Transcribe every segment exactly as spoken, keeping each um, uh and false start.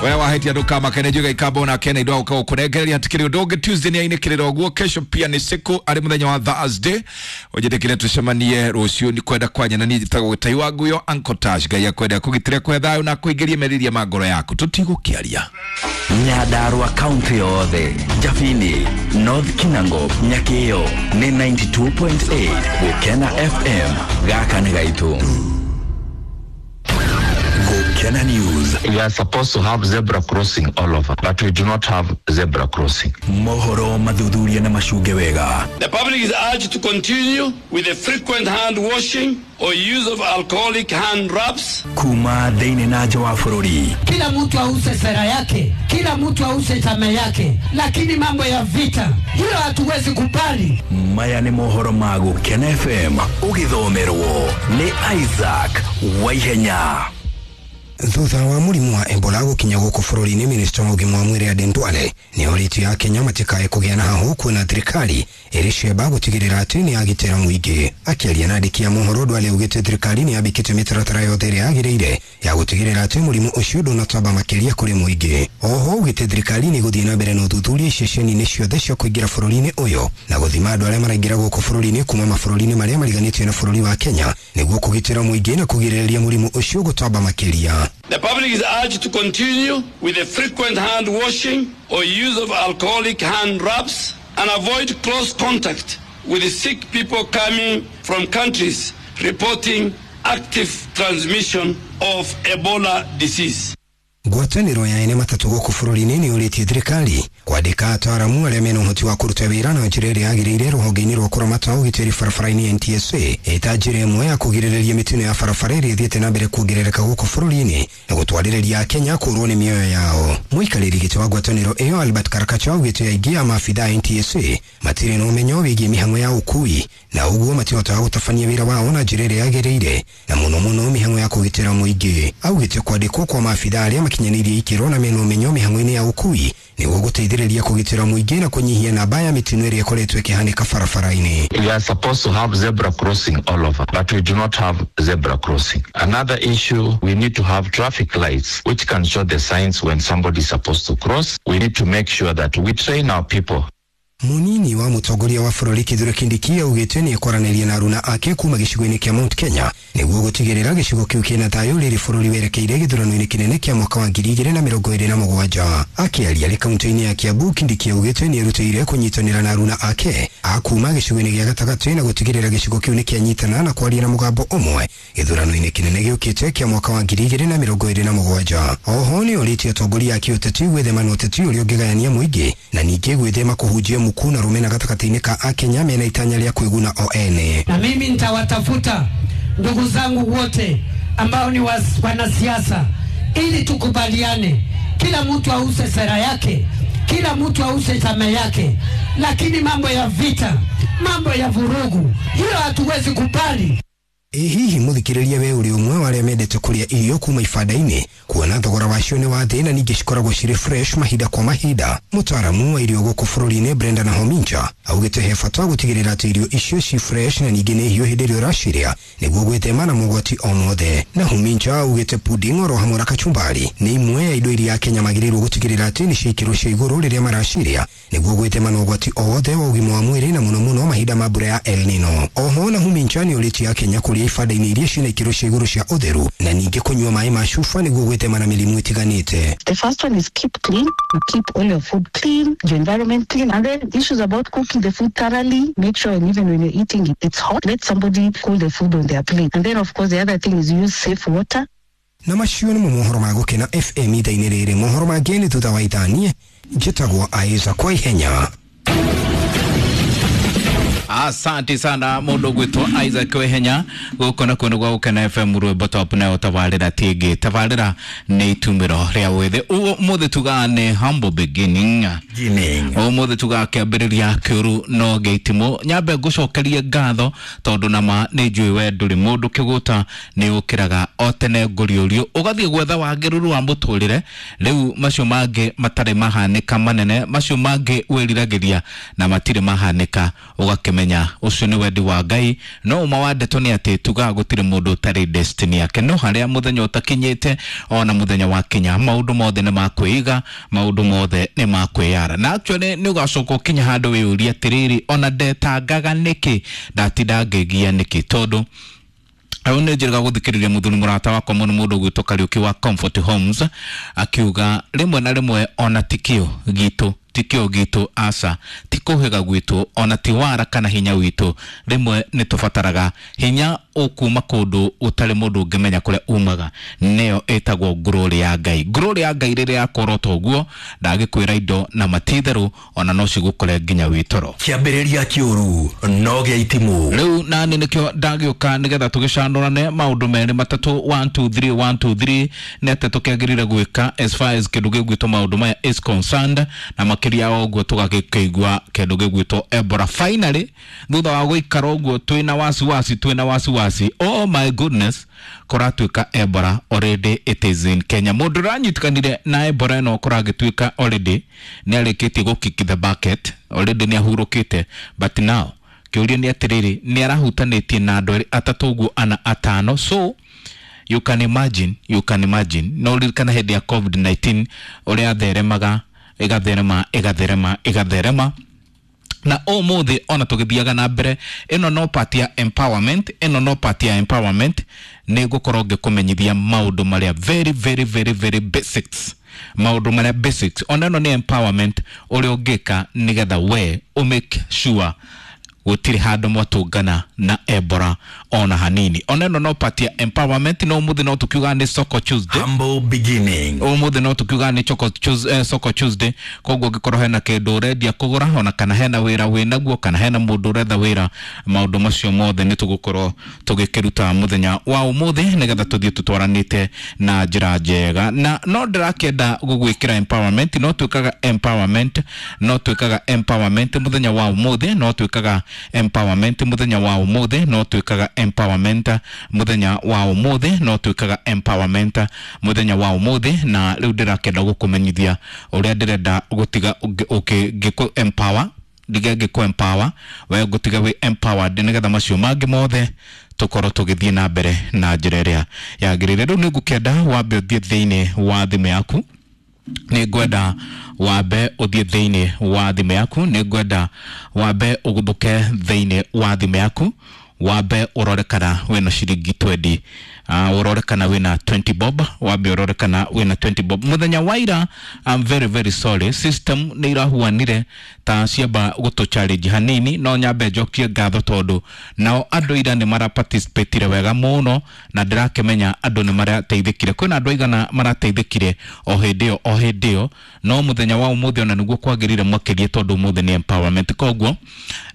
Wewe wahetia nduka kene juga ikamba na kene indo uka ukurengereria hatikiri undu ungi. Tuesday ni ainikirira uguo, kesho pia ni siku ari muthenya wa Thursday unjindikire tucemanie rucio ni kwenda kwanya na ni njitagwo Gitai wa Nguyo Uncle Tash. Ngai akwenda kugitire kwe thayo na kuingiria meriria ma ngoro yaku tutigukiaria. Nyandarua kaunti yothe, Jabini, North Kinango, Nyakio ni ninety-two point eight Gukena F M. Gaka ni gaitu. Gukena News. We are supposed to have zebra crossing all over, but we do not have zebra crossing. Mohoro mathuthuria na macunge wega. The public is urged to continue with the frequent hand washing or use of alcoholic hand rubs. Kuma thĩinĩ na nja wa bũrũri. Kila mtu ause sera yake, kila mtu ause chama yake, lakini mambo ya vita hiyo hatuwezi kubali. Maya nĩ mohoro ma Gukena F M ũgĩthomerwo nĩ Isaac Waihenya. Thutha wa mũrimũ wa Ebola gũkinya gũkũ bũrũri-inĩ, minista wa ũgima wa mwĩrĩ Aden Duale nĩ orĩtie Akenya matikae kũgĩa na hahũ kuona thirikari ĩrĩ cemba gũtigĩrĩra atĩ nĩ yagitĩra mũingĩ. Akĩaria na andĩki a mohoro, Duale augĩte thirikari nĩ yambĩkĩte mĩtaratara yothe ĩrĩa yagĩrĩire ya gũtigĩrĩra atĩ mũrimũ ũcio ndũnatamba makĩria kũrĩ mũingĩ. Oho augĩte thirikari nĩ ĩgũthiĩ na mbere na ũthuthuria iceceni-inĩ ciothe cia kũingĩra bũrũri-inĩ ũyũ na gũthima andũ arĩa maraingĩra gũkũ bũrũri-inĩ kuma mabũrũri-inĩ marĩa mariganĩtie na bũrũri wa Kenya nĩguo kũgitĩra mũingĩ na kũgirĩrĩria mũrimũ ũcio gũtamba makĩria. The public is urged to continue with the frequent hand washing or use of alcoholic hand rubs and avoid close contact with the sick people coming from countries reporting active transmission of Ebola disease. Ngwatanĩro ya ene matatũ gũkũ bũrũri-inĩ nĩ ũrĩtie thirikari kwandĩka ataaramu arĩa mena ũhoti wa kũruta wĩra na njĩra ĩrĩa yagĩrĩire rũhonge-inĩ rwa kũramata ũgitĩri barabara-inĩ N T S A ĩta njĩra ĩmwe ya kũgirĩrĩria mĩtino ya barabara ĩrĩa ĩthiĩte na mbere kuongerereka gũkũ bũrũri-inĩ na gũtwarĩrĩria Akenya kũũrwo nĩ mĩoyo yao. Mũikarĩri gĩtĩ wa ngwatanĩro ĩyo Albert Karakacha augĩte aingĩ a maabithaa N T S A matirĩ na ũmenyo wĩgiĩ mĩhang'o ya ũkui na ũguo matihotaga gũtabania wĩra wao na njĩra ĩrĩa yagĩrĩire na mũno mũno mĩhang'o ya kũgitĩra mũingĩ. Augĩte kwandĩkwo kwa maabithaa arĩa makinyanĩirie ikĩro na mena ũmenyo mĩhang'o-inĩ ya ũkui nĩguo gũteithĩrĩria kũgitĩra mũingĩ na kũnyihia namba ya mĩtino ĩrĩa ĩkoretwo ĩkĩhanĩka barabara-inĩ. We are supposed to have zebra crossing all over, but we do not have zebra crossing. Another issue, we need to have traffic lights which can show the signs when somebody is supposed to cross. We need to make sure that we train our people. Munini wa mũtongoria wa bũrũri Kithure Kindiki augĩte nĩ ekwaranĩria na aruna ake kuma gĩcigo-inĩ kĩa Mount Kenya nĩguo gũtigĩrĩra gĩcigo kĩu kĩna thayũ rĩrĩ bũrũri werekeire gĩthurano-inĩ kĩnene kĩa mwaka wa ngiri igĩrĩ na mĩrongo ĩrĩ na mũgwanja. Akĩaria arĩ kaunti-inĩ ya Kiambu, Kindiki augĩte nĩ erutĩire kũnyitanĩra na aruna ake a kuma gĩcigo-inĩ gĩa gatagatĩ na gũtigĩrĩra gĩcigo kĩu nĩ kĩanyitana na kwaria na mũgambo ũmwe gĩthurano-inĩ kĩnene gĩũkĩte kĩa mwaka wa ngiri igĩrĩ na mĩrongo ĩrĩ na mũgwanja. Oho nĩ orĩtie atongoria a kĩũteti gwĩthema na ũteti ũrĩa ũngĩgayania mũingĩ na ningĩ gwĩthema kũhunjia muku na rumena gatagatĩ-inĩ ka Akenya mena itanya rĩa kwĩguna o ene. Na mimi nitawatafuta ndugu zangu wote ambao ni wanasiasa ili tukubaliane, kila mtu ause sera yake, kila mtu ause chama yake, lakini mambo ya vita, mambo ya vurugu, hiyo hatuwezi kubali. Ĩ hihi mũthikĩrĩria we ũrĩ ũmwe wa arĩa mendete kũrĩa irio kuma ibanda-inĩ kuona thogora wacio nĩ wa thĩ na ningĩ cikoragwo cirĩ fresh mahinda kwa mahinda? Mũtaaramu wa irio gũkũ bũrũri-inĩ Brenda Nahominja augĩte he bata gũtigĩrĩra atĩ irio icio ci fresh na ningĩ nĩ hiũ hĩndĩ ĩrĩa ũracirĩa nĩguo gwĩthema na mogwati o mothe. Nahominja augĩte pudding oro hamwe na kachumbari nĩ imwe ya indo iria Akenya magĩrĩirwo gũtigĩrĩra atĩ nĩ cia ikĩro cia igũrũ rĩrĩa maracirĩa nĩguo gwĩthema na ũgwati o wothe wa ũgima wa mwĩrĩ na mũno mũno mahinda ma mbura ya El Nino. Oho Nahominja nĩ ũrĩtie Akenya kũrĩa ibanda-inĩ iria ciĩna ikĩro cia igũrũ cia ũtheru na ningĩ kũnyua maĩ ma cuba nĩguo gwĩthema na mĩrimũ ĩtiganĩte. The first one is keep clean. You keep all your food clean, your environment clean, and then issues about cooking the food thoroughly. Make sure, and even when you're eating it, it's hot. Let somebody cool the food on their plate. And then of course the other thing is use safe water. Na macio nĩ mohoro ma Gukena F M ithaa-inĩ rĩrĩ. Mohoro mangĩ nĩ thutha wa ithaa. Niĩ njĩtagwo Isaac Waihenya. Asante sana mundu gwitwo Isaac Waihenya guku na kundu gwa Gukena F M rwimbo top nayo tabarira tingi tabarira ni itumiro ria withe umuthi tugaa ni humble beginning umuthi tugaa kiambiriria kiuru no gĩitimo nyambe ngucokerie ngatho tondu nama ni njui we nduri mundu kiguta ni ukiraga o tene nguriurio ugathie gwetha wagĩrĩru wa muturire riu macio mangi matari mahanika manene macio mangi wiriragiria na matiri mahanika ugakime Tũtingĩmenya, ũcio nĩ wendi wa Ngai. No ũma wa ndeto nĩ atĩ tugaga gũtirĩ mũndũ ũtarĩ destiny yake, no harĩa mũthenya ũtakinyĩte ona mũthenya wakinya maũndũ mothe nĩ makwĩiga, maũndũ mothe nĩ makwĩyara. Na actually nĩ ũgacoka ũkinya handũ wĩyũrie atĩrĩrĩ, ona ndetangaga nĩkĩ, ndatinda ngĩgia nĩkĩ? Tondũ hau nĩ njĩrĩga gũthikĩrĩria mũthuri mũrata wakwa mũno, mũndũ ũgwĩtwo Kariũki wa Comfort Homes, akiuga rĩmwe na rĩmwe ona tikio gitũ tikio gitũ aca ti kũhĩga gwitũ ona ti wara kana hinya witũ, rĩmwe nĩ tũbataraga hinya ũkuma kũndũ ũtarĩ mũndũ ũngĩmenya kũrĩa umaga, nĩyo ĩtagwo ngurũri ya Ngai. Ngurũri ya Ngai rĩrĩa yakorwo ũguo ndagĩkwĩra indo na matitherũ ona no cigũkore nginya wĩ toro. Kĩambĩrĩria kĩũru no gĩa itimũ. Rĩu nani nĩkĩo ndagĩũka nĩgetha tũgĩcanũrane maũndũ merĩ matatũ, one two three one two three, nĩ atĩ tũkĩagĩrĩire gwĩka as far as kĩndũ gĩgwĩtwo maũndũ maya is concerned, na makĩria ya ũguo tũgagĩkĩigua kĩndũ gĩgwĩtwo Ebola finally thutha wa gũikara ũguo twĩna wasiwasi twĩna wasiwasi, oh my goodness, kũratuĩka Ebola already it is in Kenya. Mũndũ ũranyitĩkanire na Ebola ĩno kũragĩtuĩka already nĩ arĩkĩtie gũ kick the bucket, already nĩ ahurũkĩte, but now kĩũria nĩ atĩrĩrĩ, nĩ arahutanĩtie na andũ erĩ atatũ ũguo ana atano. So you can imagine, you can imagine, no ririkana hĩndĩ ya covid nineteen ũrĩa theremaga ĩgatherema ĩgatherema ĩgatherema, na ũmũthĩ ona tũgĩthiaga na mbere, ĩno no part ya empowerment, ĩno no part ya empowerment, nĩ ngũkorwo ngĩkũmenyithia maũndũ marĩa very very very very basics, maũndũ marĩa basics, ona ĩno nĩ empowerment ũrĩa ũngĩka nĩgetha we ũ make sure gũtirĩ handũ mwatũngana na Ebola ona hanini. Ona ĩno no part ya empowerment. No ũmũthĩ no tũkiuga nĩ Soko Tuesday, Humble beginning. Ũmũthĩ no tũkiuga nĩ Choko Tuesday, eh, Soko Tuesday. Koguo ũngĩkorwo hena kĩndũ ũrendia kũgũra, ona kana hena wĩra wĩnaguo, kana hena mũndũ ũretha wĩra, maũndũ macio mothe nĩ tũgũkorwo tũgĩkĩruta mũthenya wa ũmũthĩ nĩgetha tũthiĩ tũtwaranĩte na njĩra njega. Na no ndĩrakĩenda gũgwĩkĩra empowerment, no twĩkaga empowerment, no twĩkaga empowerment mũthenya wa ũmũthĩ, no twĩkaga empowerment mũthenya wa ũmũthĩ, no twĩkaga empowerment mũthenya wa ũmũthĩ, no twĩkaga empowerment mũthenya wa ũmũthĩ. Na rĩu ndĩrakĩenda gũkũmenyithia ũrĩa ndĩrenda gũtiga ngĩkũ empower, ndige ngĩkũ empower, we ngũtiga wĩ empowered nĩgetha macio mangĩ mothe tũkorwo tũgĩthiĩ na mbere na njĩra ĩrĩa yagĩrĩire. Rĩu nĩngũkĩenda wambe ũthiĩ thĩinĩ wa thimũ yaku, nĩ ngwenda wambe ũthiĩ thĩinĩ wa thimũ yaku, nĩ ngwenda wambe ũgũthũke thĩinĩ wa thimũ yaku, wambe ũrore kana wĩna ciringi twenty, uh, ũrore kana wĩna twenty bob, wambe ũrore kana wĩna twenty bob. Mũthenya wa ira, I'm very very sorry, system nĩ irahuanire ta ciamba gũtũ challenge hanini, no nyambe njokie ngatho tondũ nao andũ ira nĩ mara participatire wega mũno, na ndĩrakĩmenya andũ nĩ marateithĩkire. Kwĩna andũ aigana marateithĩkire o hĩndĩ ĩyo o hĩndĩ ĩyo, no mũthenya wa ũmũthĩ ona nĩguo kwagĩrĩire makĩria tondũ ũmũthĩ nĩ empowerment. Koguo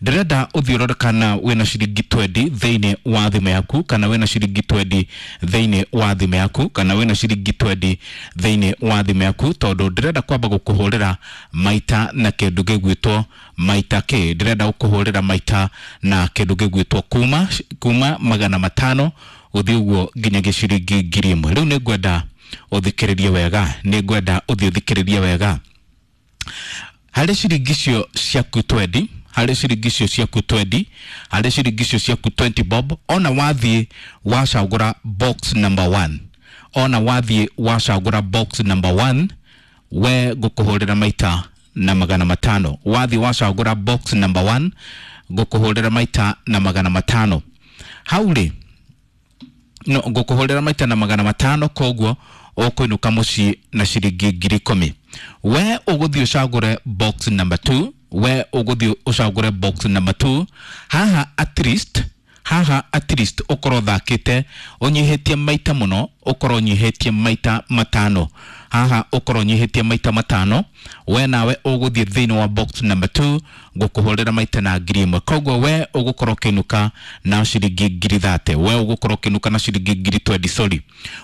ndĩrenda ũthiĩ ũrore kana wĩna ciringi twenty thĩinĩ wa thimũ yaku, kana wĩna ciringi twenty thĩinĩ wa thimũ yaku, kana wĩna ciringi twenty thĩinĩ wa thimũ yaku, tondũ ndĩrenda kwamba gũkũhũrĩra maita na kĩndũ gĩgwĩtwo maita kĩ, ndĩrenda gũkũhũrĩra maita na kĩndũ gĩgwĩtwo kuma kuma magana matano gũthiĩ ũguo nginyagia ciringi ngiri ĩmwe. Rĩu nĩ ngwenda ũthikĩrĩrie wega, nĩ ngwenda ũthiĩ ũthikĩrĩrie wega. Harĩ ciringi icio ciaku twenty, harĩ ciringi icio ciaku twenty, harĩ ciringi icio ciaku twenty bob, ona wathiĩ wacagũra box number one, ona wathiĩ wacagũra box number one, we ngũkũhũrĩra maita na magana matano. Wathiĩ wacagũra box number one, ngũkũhũrĩra maita na magana matano. Hau rĩ, no ngũkũhũrĩra maita na magana matano, koguo ũkũinũka mũciĩ na ciringi ngiri ikũmi. We ũgũthiĩ ũcagũre box number two, we ũgũthiĩ ũcagũre box number two, haha at least, haha at least ũkorwo ũthakĩte ũnyihĩtie maita mũno, ũkorwo ũnyihĩtie maita matano, haha ũkorwo ũnyihĩtie maita matano, we nawe ũgũthiĩ thĩinĩ wa box number two, ngũkũhũrĩra maita na ngiri ĩmwe. Koguo we ũgũkorwo ũkĩinũka na ciringi ngiri thate, we ũgũkorwo ũkĩinũka na ciringi ngiri twenty, sorry.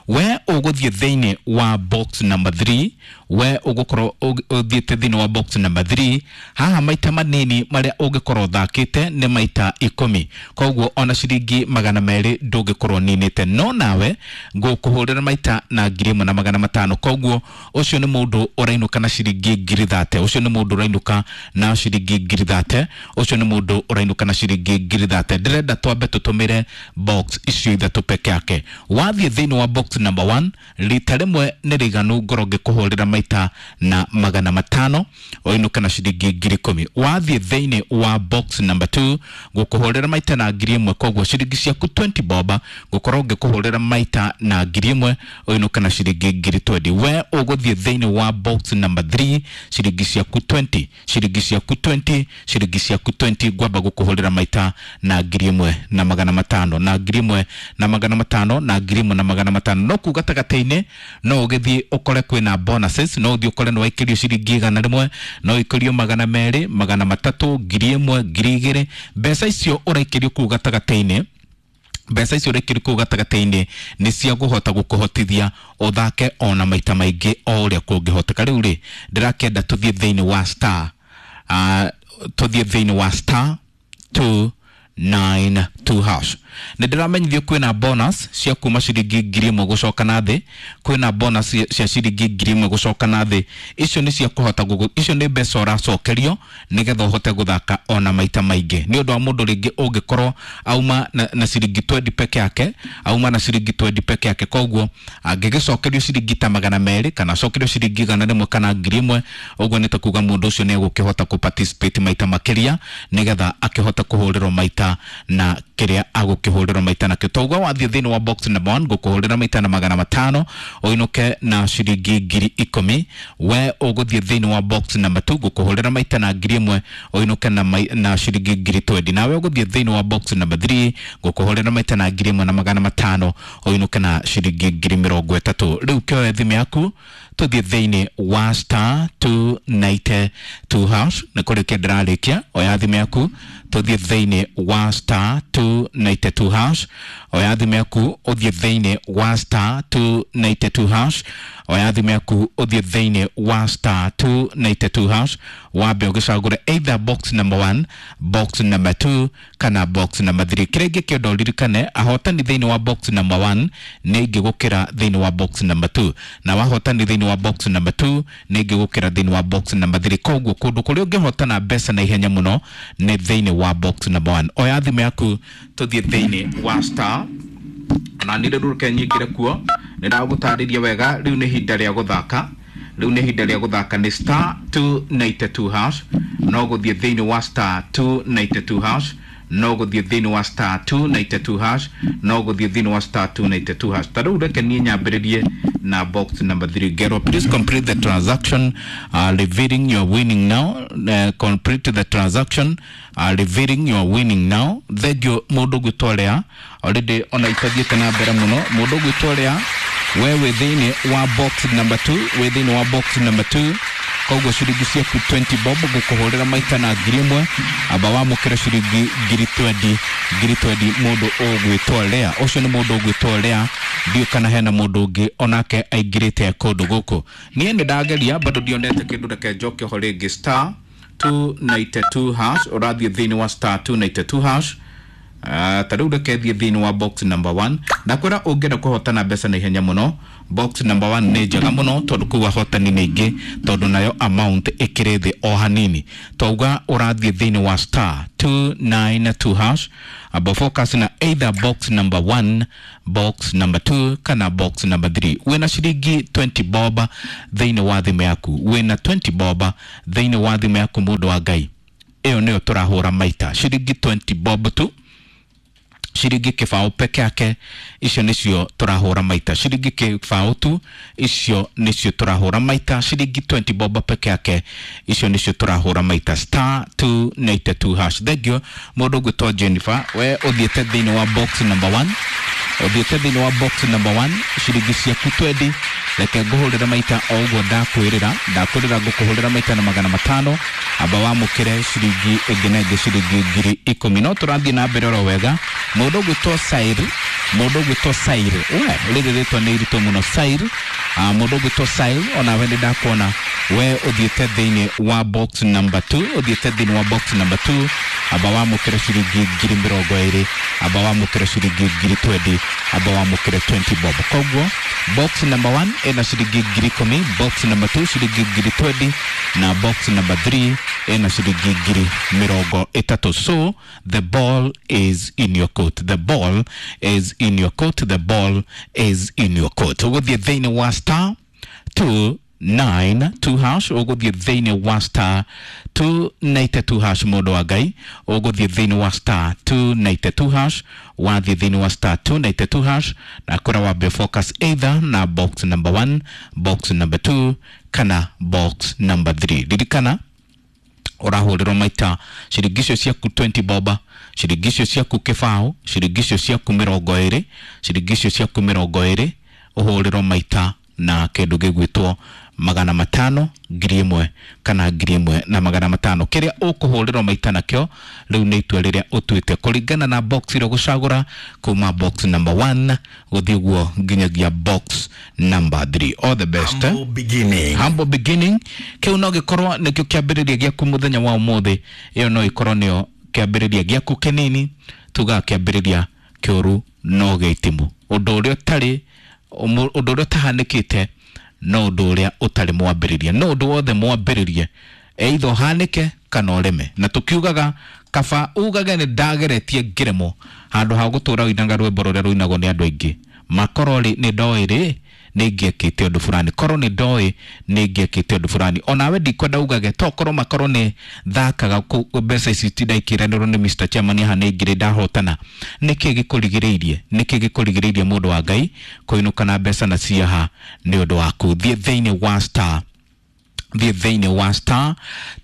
We ũgũthiĩ thĩinĩ wa box number three, we ũgũkorwo ũthiĩte thĩinĩ wa box number three, haha maita manini marĩa ũngĩkorwo ũthakĩte nĩ maita ikũmi, koguo ona ciringi magana merĩ ndũngĩkorwo ũninĩte, no nawe ngũkũhũrĩra Ngũkũhũrĩra maita na ngiri ĩmwe na magana matano. Koguo ũcio nĩ mũndũ ũrainũka na ciringi ngiri thate. Ũcio nĩ mũndũ ũrainũka na ciringi ngiri thate. Ũcio nĩ mũndũ ũrainũka na ciringi ngiri thate. Ndĩrenda twambe tũtũmĩre box icio ithatũ peke yake. Wathiĩ thĩinĩ wa box number one, rita rĩmwe nĩ rĩiganu ngorwo ngĩkũhũrĩra maita na magana matano ũinũke na ciringi ngiri ikũmi. Wathiĩ thĩinĩ wa box number two, ngũkũhũrĩra maita na ngiri ĩmwe, koguo ciringi ciaku twenty bob ngũkorwo ngĩkũhũrĩra maita na ngiri ĩmwe ũinũke na ciringi ngiri twenty. We ũgũthiĩ thĩinĩ wa box number three, ciringi ciaku twenty, ciringi ciaku twenty, ciringi ciaku twenty, ngwamba gũkũhũrĩra maita na ngiri ĩmwe na magana matano, na ngiri ĩmwe na magana matano, na ngiri ĩmwe na magana matano. No kuu gatagatĩ-inĩ no ũgĩthiĩ ũkore kwĩna bonuses, no ũthiĩ ũkore nĩ waikĩrio ciringi igana rĩmwe, no ũikĩrio magana merĩ, magana matatũ, ngiri ĩmwe, ngiri igĩrĩ. Mbeca icio ũraikĩrio kuu gatagatĩ-inĩ, mbeca icio ũraikĩrio kũu gatagatĩ-inĩ nĩ cia kũhota gũkũhotithia ũthake ona maita maingĩ o ũrĩa kũngĩhoteka. Rĩu rĩ, ndĩrakĩenda tũthiĩ thĩinĩ wa star uh, tũthiĩ thĩinĩ wa star two nine two hash. Nĩ ndĩramenyithio kwĩna bonus cia kuma ciringi ngiri ĩmwe gũcoka na thĩ, kwĩna bonus cia ciringi ngiri ĩmwe gũcoka na thĩ. Icio nĩ cia kũhota gũgũ, icio nĩ mbeca ũracokerio nĩgetha ũhote gũthaka ona maita maingĩ. Nĩ ũndũ wa mũndũ rĩngĩ ũngĩkorwo auma na, na ciringi twenty peke yake, auma na ciringi twenty peke yake, koguo angĩgĩcokerio ciringi ta magana merĩ kana acokerio ciringi igana rĩmwe kana ngiri ĩmwe, ũguo nĩ ta kuga mũndũ ũcio nĩ egũkĩhota kũ participate maita makĩria nĩgetha akĩhote kũhũrĩrwo maita na kĩrĩa agũkĩhũrĩrwo maita nakĩo. Toguo wathiĩ thĩinĩ wa box number one, ngũkũhũrĩra maita na magana matano ũinũke na ciringi ngiri ikũmi. We ũgũthiĩ thĩinĩ wa box number two, ngũkũhũrĩra maita na ngiri ĩmwe ũinũke na, na ciringi ngiri twenty. Nawe ũgũthiĩ thĩinĩ wa box number three, ngũkũhũrĩra maita na ngiri ĩmwe na magana matano ũinũke na ciringi ngiri mĩrongo ĩtatũ. Rĩu kĩoe thimũ yaku tũthiĩ thĩinĩ wa star two ninety two hash. Nĩ kũrĩkia ndĩrarĩkia, oya thimũ yaku tũthiĩ thĩinĩ wa star two ninety two hash. Oya thimũ yaku ũthiĩ thĩinĩ wa star two ninety two hash. Oya thimũ yaku ũthiĩ thĩinĩ wa star two ninety two hash. Wambe ũgĩcagũre either box number one, box number two kana box number three. Kĩrĩa ingĩkĩenda ũririkane, ahotani thĩinĩ wa box number one nĩ aingĩ gũkĩra thĩinĩ wa box number two, na wahotani thĩinĩ wa box number two nĩ aingĩ gũkĩra thĩinĩ wa box number three. Koguo kũndũ kũrĩa ũngĩhotana mbeca na ihenya mũno nĩ thĩinĩ wa box number one. Oya thimũ yaku tũthiĩ thĩinĩ wa star na nĩ rĩrũke nyingĩre kuo, nĩ ndagũtarĩria wega. Rĩu nĩ ihinda rĩa gũthaka, rĩu nĩ ihinda rĩa gũthaka nĩ star two ninety two hash. No gũthiĩ thĩinĩ wa star two ninety two hash, no gũthiĩ thĩinĩ wa star two ninety two hash, no gũthiĩ thĩinĩ wa star two ninety two hash. Ta rĩu reke niĩ nyambĩrĩrie na box number three. Gero, please complete the transaction uh, revealing your winning now. Uh, complete the transaction uh, revealing your winning now. Thank you mũndũ ũgwĩtwo Lea, already ona itathiĩte na mbere mũno. Mũndũ ũgwĩtwo Lea, we wĩ thĩinĩ wa box number two, wĩ thĩinĩ wa box number two, koguo ciringi ciaku twenty bob ngũkũhũrĩra maita na ngiri ĩmwe, amba wamũkĩre ciringi ngiri twenty, ngiri twenty mũndũ ũgwĩtwo Lea. Ũcio nĩ mũndũ ũgwĩtwo Lea, ndiũ kana hena mũndũ ũngĩ onake aingĩrĩte kũndũ gũkũ. Niĩ nĩ ndageria bado ndionete kĩndũ, reke njoke ho rĩngĩ. Star two ninety two hash, ũrathiĩ thĩinĩ wa star two ninety two hash. Uh, ta rĩu reke thiĩ thĩinĩ wa box number one. Ndakwĩra ũngĩenda kũhotana mbeca na ihenya mũno, box number one nĩ njega mũno tondũ kũu ahotani nĩ aingĩ, tondũ nayo amount ĩkĩrĩ thĩ o hanini. Twauga ũrathiĩ thĩinĩ wa star two nine two hash, abo focus na either box number one, box number two kana box number three. Wĩna ciringi twenty bob thĩinĩ wa thimũ yaku, wĩna twenty bob thĩinĩ wa thimũ yaku, mũndũ wa Ngai, ĩyo nĩyo tũrahũra maita ciringi twenty bob tu, ciringi kĩbaũ peke yake, icio nĩcio tũrahũra maita. Ciringi kĩbaũ tu, icio nĩcio tũrahũra maita. Ciringi twenty bob peke yake, icio nĩcio tũrahũra maita. Star two ninety two hash. Thank you mũndũ ũgwĩtwo Jennifer, we ũthiĩte thĩinĩ wa box number one, ũthiĩte thĩinĩ wa box number one, ciringi ciaku twenty. Reke ngũhũrĩre maita o ũguo ndakwĩrĩra, ndakwĩrĩra ngũkũhũrĩra maita na magana matano, amba wamũkĩre ciringi ĩngĩ na ĩngĩ ciringi ngiri ikũmi. No tũrathiĩ na mbere oro wega. Mũndũ ũgwĩtwo Sair, mũndũ ũgwĩtwo Sair, we rĩrĩ rĩtwa nĩ iritũ mũno, Sair. Uh, mũndũ ũgwĩtwo Sair, onawe nĩ ndakuona we ũthiĩte thĩinĩ wa box number two, ũthiĩte thĩinĩ wa box number two, amba wamũkĩre ciringi ngiri mĩrongo ĩrĩ, amba wamũkĩre ciringi ngiri twenty. amba wamũkĩre twenty bob. Koguo box number one ĩna ciringi ngiri ikũmi, box number two ciringi ngiri twenty na box number three ĩna ciringi ngiri mĩrongo ĩtatũ. So the ball is in your court, the ball is in your court, the ball is in your court. Ũgũthiĩ thĩinĩ wa star two nine two hash, ũgũthiĩ thĩinĩ wa star two ninety two hash, mũndũ wa Ngai, ũgũthiĩ thĩinĩ wa star two ninety two hash, wathiĩ thĩinĩ wa star two ninety two hash na kũrĩa wambe focus either na box number one, box number two kana box number three. Ririkana ũrahũrĩrwo maita ciringi icio ciaku twenty boba, ciringi icio ciaku kĩbaũ, ciringi icio ciaku mĩrongo ĩrĩ, ciringi icio ciaku mĩrongo ĩrĩ, ũhũrĩrwo maita na kĩndũ gĩgwĩtwo magana matano, ngiri ĩmwe kana ngiri ĩmwe na magana matano. Kĩrĩa ũkũhũrĩrwo maita nakĩo rĩu nĩ itua rĩrĩa ũtuĩte kũringana na box ĩrĩa ũgũcagũra kuma box number one gũthiĩ ũguo nginyagia box number three. All the best. Humble beginning. Humble beginning. Kĩu no gĩkorwo nĩkĩo kĩambĩrĩria gĩaku mũthenya wa ũmũthĩ. Ĩyo no ĩkorwo nĩyo kĩambĩrĩria gĩaku kĩnini, tugaga kĩambĩrĩria kĩũru no gĩitimu. Ũndũ ũrĩa ũtarĩ, ũndũ ũrĩa ũtahanĩkĩte no ũndũ ũrĩa ũtarĩ mwambĩrĩrie, no ũndũ wothe mwambĩrĩrie either ũhanĩke kana ũreme. Na tũkiugaga kaba ugage nĩ ndageretie ngĩremwo handũ ha gũtũra ũinaga rwĩmbo rũrĩa rũinagwo nĩ andũ aingĩ, makorwo rĩ nĩ ndoĩ rĩ nĩ ingĩekĩte ũndũ fulani, korwo nĩ ndoĩ nĩ ingĩekĩte ũndũ fulani. Onawe ndikwenda ugage tokorwo makorwo nĩ thakaga mbeca ici tindaikĩranĩrwo nĩ Mister Chairman haha nĩ ngiri ndahotana. Nĩkĩ gĩkũrigĩrĩirie? Nĩkĩ gĩkũrigĩrĩirie mũndũ wa Ngai kũinũka na mbeca na ciaha nĩ ũndũ waku? Thiĩ thĩinĩ wa star, thiĩ thĩinĩ wa star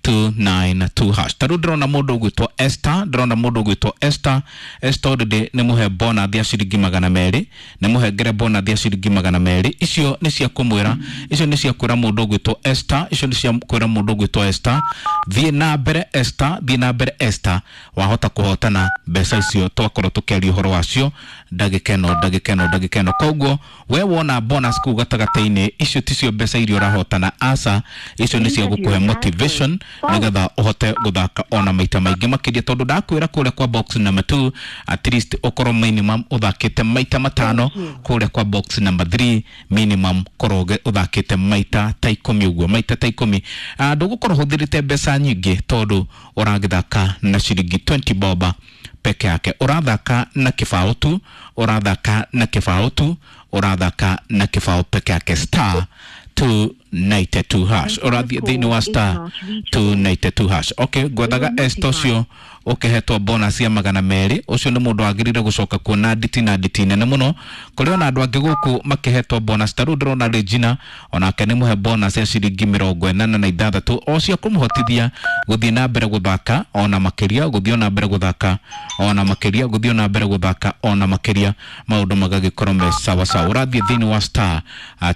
two nine two hash. Ta rĩu ndĩrona mũndũ ũgwĩtwo Esther, ndĩrona mũndũ ũgwĩtwo Esther. Esther already nĩ mũhe bonus ya ciringi magana merĩ, nĩ mũhengere bonus ya ciringi magana merĩ. Icio nĩ cia kũmwĩra, icio nĩ cia kwĩra mũndũ ũgwĩtwo Esther, icio nĩ cia kwĩra mũndũ ũgwĩtwo Esther, thiĩ na mbere Esther, thiĩ na mbere Esther, wahota kũhotana mbeca icio twakorwo tũkĩaria ũhoro wacio ndagĩka ĩno, ndagĩka ĩno, ndagĩka ĩno. Koguo we wona bonus kũu gatagatĩ-inĩ, icio ticio mbeca iria ũrahotana, aca, icio nĩ cia gũkũhe motivation nĩgetha ũhote gũthaka ona maita maingĩ makĩria, tondũ ndakwĩra kũrĩa kwa box number two at least ũkorwo minimum ũthakĩte maita matano, kũrĩa kwa box number three minimum korwo ũthakĩte maita ta ikũmi ũguo, maita ta ikũmi. Ndũgũkorwo ũhũthĩrĩte mbeca nyingĩ tondũ ũragĩthaka na ciringi twenty boba peke yake, ũrathaka na kĩbaũ tu, ũrathaka na kĩbaũ tu, ũrathaka na kĩbaũ peke yake. Star two ninety two hash, ũrathiĩ thĩinĩ wa star two ninety two hash. Okay, ngwethaga Esther ũcio ũkĩhetwo bonus ya magana merĩ, ũcio nĩ mũndũ wagĩrĩire gũcoka kuona nditi na nditi nene mũno. Kũrĩ ona andũ angĩ gũkũ makĩhetwo bonus, ta rĩu ndĩrona Regina onake nĩ mũhe bonus ya ciringi mĩrongo ĩnana na ithathatũ, o cia kũmũhotithia gũthiĩ na mbere gũthaka ona makĩria, gũthiĩ na mbere gũthaka ona makĩria, gũthiĩ na mbere gũthaka ona makĩria, maũndũ magagĩkorwo me sawa sawa. Ũrathiĩ thĩinĩ wa star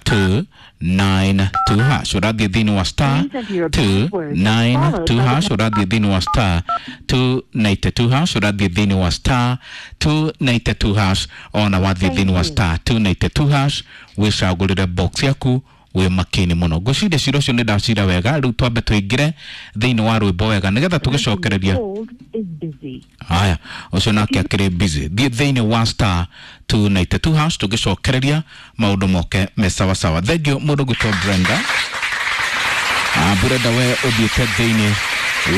two nine two hash, ũrathiĩ thĩinĩ wa star two nine two hash, ũrathiĩ thĩinĩ wa star two ninety two hash, ũrathiĩ thĩinĩ wa star two ninety two hash, ona wathiĩ thĩinĩ wa star two ninety two hash wĩcagũrĩre box yaku wĩ makini mũno. Ngwĩciria cira ũcio nĩ ndacira wega. Rĩu twambe tũingĩre thĩinĩ wa rwĩmbo wega nĩgetha tũgĩcokereria. Haya, ũcio nake akĩrĩ busy. Thiĩ thĩinĩ wa star two ninety two hash tũgĩcokereria maũndũ moke me sawa sawa. Thengiũ mũndũ gwĩtwo Brenda. Ah, Brenda we ũthiĩte thĩinĩ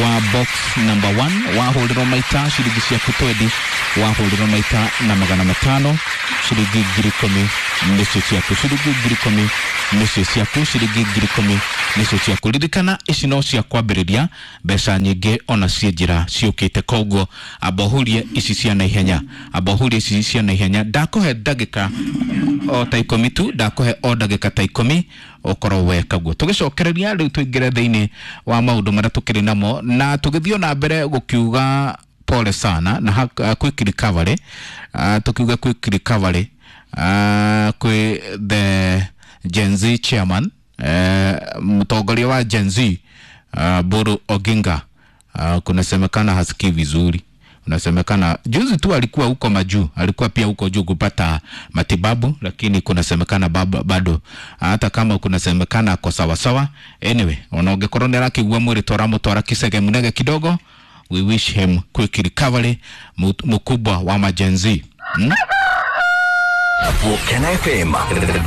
wa box number one, wahũrĩrwo maita ciringi ciaku twenty, wahũrĩrwo maita na magana matano, ciringi ngiri ikũmi nĩcio ciaku, ciringi ngiri ikũmi nĩcio ciaku, ciringi ngiri ikũmi nĩcio ciaku. Ririkana ici no cia kwambĩrĩria, mbeca nyingĩ ona ciĩ njĩra ciũkĩte, koguo amba ũhurie ici cia naihenya, amba ũhurie ici cia naihenya. Ndakũhe ndagĩka o ta ikũmi tu, ndakũhe o ndagĩka ta ikũmi ũkorwo weka guo. Tũgĩcokereria rĩu tũingĩre thĩinĩ wa maũndũ marĩa tũkĩrĩ namo, na tũgĩthiĩ na mbere gũkiuga pole sana na uh, quick recovery, uh, tukiuga quick recovery uh, kwi the Gen Z chairman, uh, mtongoria wa Gen Z uh, Buru Oginga, uh, kunasemekana hasikii vizuri. Unasemekana juzi tu alikuwa huko majuu, alikuwa pia huko juu kupata matibabu, lakini kunasemekana bado hata kama kunasemekana ako sawa sawa. Anyway, onaongekorwo nĩ arakĩigua mwĩrĩ twaramũtwara Kisege Munege kidogo, we wish him quick recovery, mkubwa wa ma Gen Z. Hmm? Gukena F M.